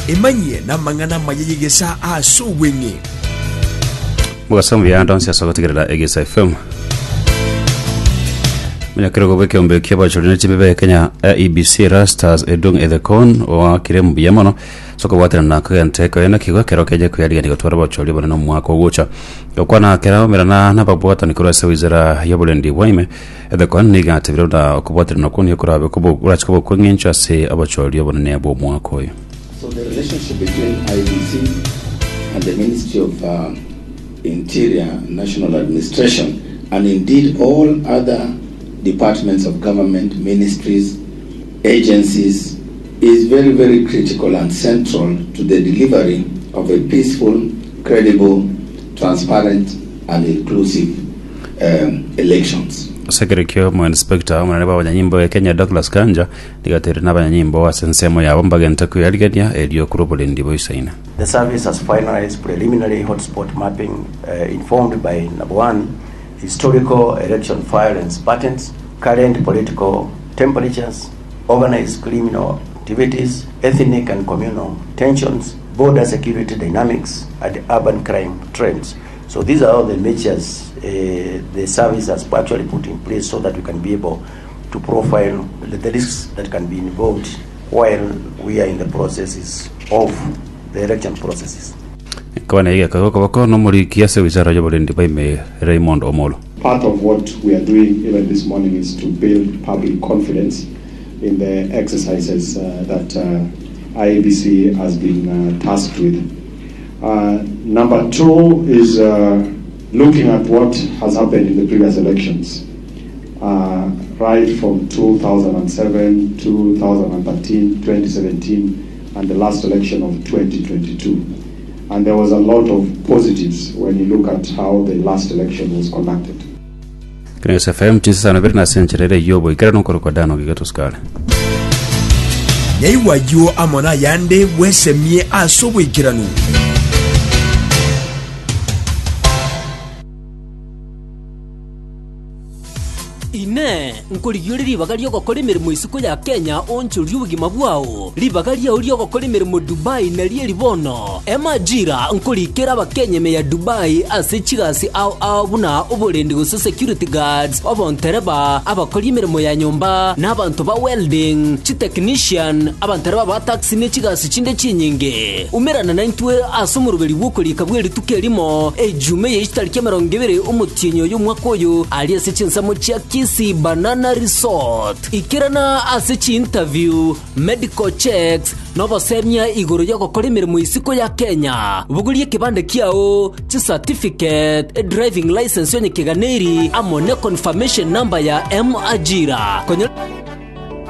Emanyie namang'ana amaya y'egesaa ase obweng'e. Mogaso mbuya ande onsi ase ogotegerera Egesa FM. Omonyakerogo bw'ekeombe ki'abachori ne chimbibe Kenya IEBC Erastus Edung Ethekon oakire mbuya mono ase okobwaterana na kogenta ekoena kigo ekero keje koyarigania gotwara abachori abanene omwaka ogocha. Gokwana kera omerana nababwatani korwa ase wizara y'oborendi bwa ime Ethekon nigo atebire buna okobwaterana okwo nigo korabe kobo korache koba okw'eng'encho ase obochori obonene bw'omwaka oyo. So the relationship between IEBC and the Ministry of Interior National Administration and indeed all other departments of government, ministries, agencies is very very critical and central to the delivery of a peaceful, credible, transparent and inclusive elections. Ase ekero ekio omoinspector omonene bw'abanyanyimbo e Kenya Douglas Kanja nigo atebirie nabanyanyimbo ase ensemo yabo mbagente kweyarigania erio korwa oborendi boisaine. The service has finalized preliminary hotspot mapping informed by number one, historical election violence patterns, current political temperatures, organized criminal activities, ethnic and communal tensions, border security dynamics, and urban crime trends. So these are all the measures uh, the service has actually put in place so that we can be able to profile the, the risks that can be involved while we are in the processes of the election processes. Ekwana eye egekogwa okoboko nomoriki ase wizara y'oborendi bwa ime Raymond Omolo. Part of what we are doing even this morning is to build public confidence in the exercises uh, that uh, IEBC has been uh, tasked with. Uh, number two is uh, looking at what has happened in the previous elections, uh, right from 2007, 2013, 2017, and the last election of 2022. And there was a lot of positives when you look at how the last election was conducted. Kenya FM chinsa ibere na ase enchera ere y'oboikeranu nkorokwa Dan Ogigeto Sukari. Nyaigwa ayio amo nayande bwesemie ase oboikeranu. Inee! Nkorigia ore ribaga ri'ogokora emeremo isiko ya Kenya oonchorie obogima bwao? Ribaga riao ri'ogokora emeremo Dubai nario eri bono. Emajira nkorikera Abakenya ime ya Dubai ase chigasi ao ao buna oborendi gose security guards, obontereba, abakori emeremo ya nyomba, na abanto ba welding, chitechnician, abantereba ba taxi ne chigasi chinde chinyinge. Umerana naintwe ase omoroberi bw'okorika bw'erituko erimo, Ejumaa eye chitariki emerongo ebere omotienyi oyo omwaka oyo, aria ase chinsemo chia Kisii Banana Resort. Ikerana ase chiinterview, medical checks, na obosemia igoro y'ogokora emeremo isiko ya Kenya. Bogoria ekebande kiao, chicertificate, edriving licence onye keganeiri, amo ne confirmation number ya M-Ajira. Konyora.